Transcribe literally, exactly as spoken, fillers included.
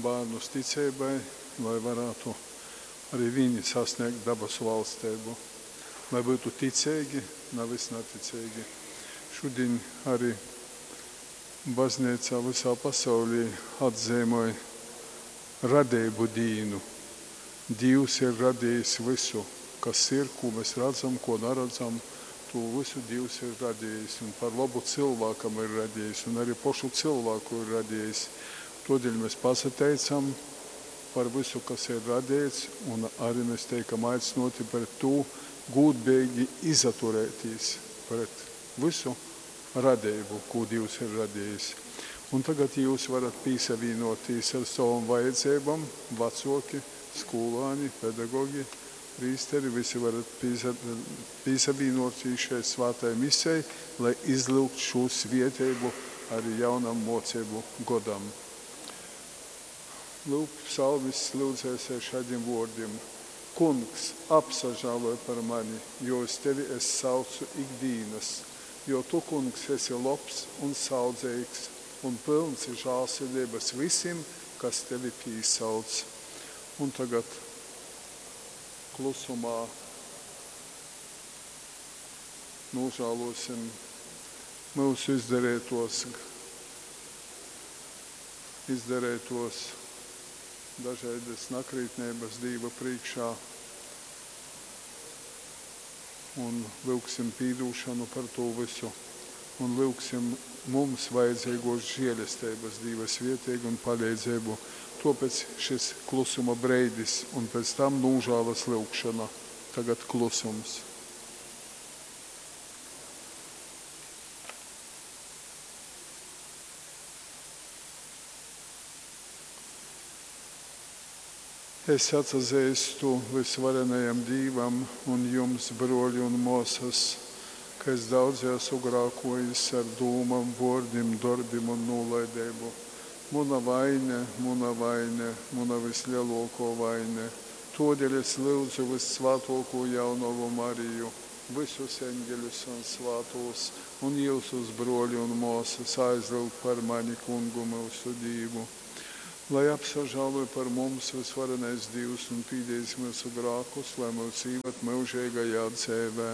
bārnus ticeibai, lai varētu arī viņi sasniegt dabasu valstību. Lai būtu ticeigi, nevis neticīgi. Šodien arī baznīcā visā pasaulī atzīmoj radību dīnu. Dievs ir radījis visu, kas ir, ko mēs redzam, ko neredzam. To visu Dievs ir radījis un par labu cilvēkam ir radījis un arī pašu cilvēku ir radījis. Todēļ mēs pasateicam par visu, kas ir radīts, un arī mēs teikam aicinoti pret to gūdbīgi izaturētīs pret visu radību, ko Dievs ir radījis. Un tagad jūs varat pīsavīnoties ar savam vajadzībām, vecoki, skolāni, pedagogi, prīsteri, visi varat pīsa, pīsavīnoties šai svētai misei, lai izlūgt šo svieteibu arī jaunam mocību godam. Lūk, psalmists lūdzēs ar šādiem vārdiem. Kungs, apsažāloj par mani, jo uz tevi es saucu ikdienas, jo tu, kungs, esi labs un saudzīgs un pilns žēlsirdības visiem, kas tevi pīsauc. Un tagad klusumā nožēlosim mūsu izdarītos, izdarītos dažādas nakrītnības Dieva priekšā un lūgsim pīdūšanu par to visu un lūgsim mums vajadzīgos žēlestības Dieva svietīgi un palīdzību. Tāpēc šis klusuma breidis un pēc tam nūžālas lūgšana. Tagad klusums. Es atzīstu visvarenajam Dīvam un jums, broļi un māsas, ka es daudz esmu grākojis ar dūmām, vārdiem, darbiem un nolaidību. Muna vaine, muna vaine, muna vislielākā vaine. Todēļ es lūdzu vissvētāko jaunavu Mariju, visus eņģeļus un svētos, un jūsus broļi un māsas aizlūgt par mani kungu mūsu Dīvu. Lai apsažāloj par mums visvarenais Dievs un pīdējis mūsu grākus, lai mūs īvad mūžīgajā dzīvē.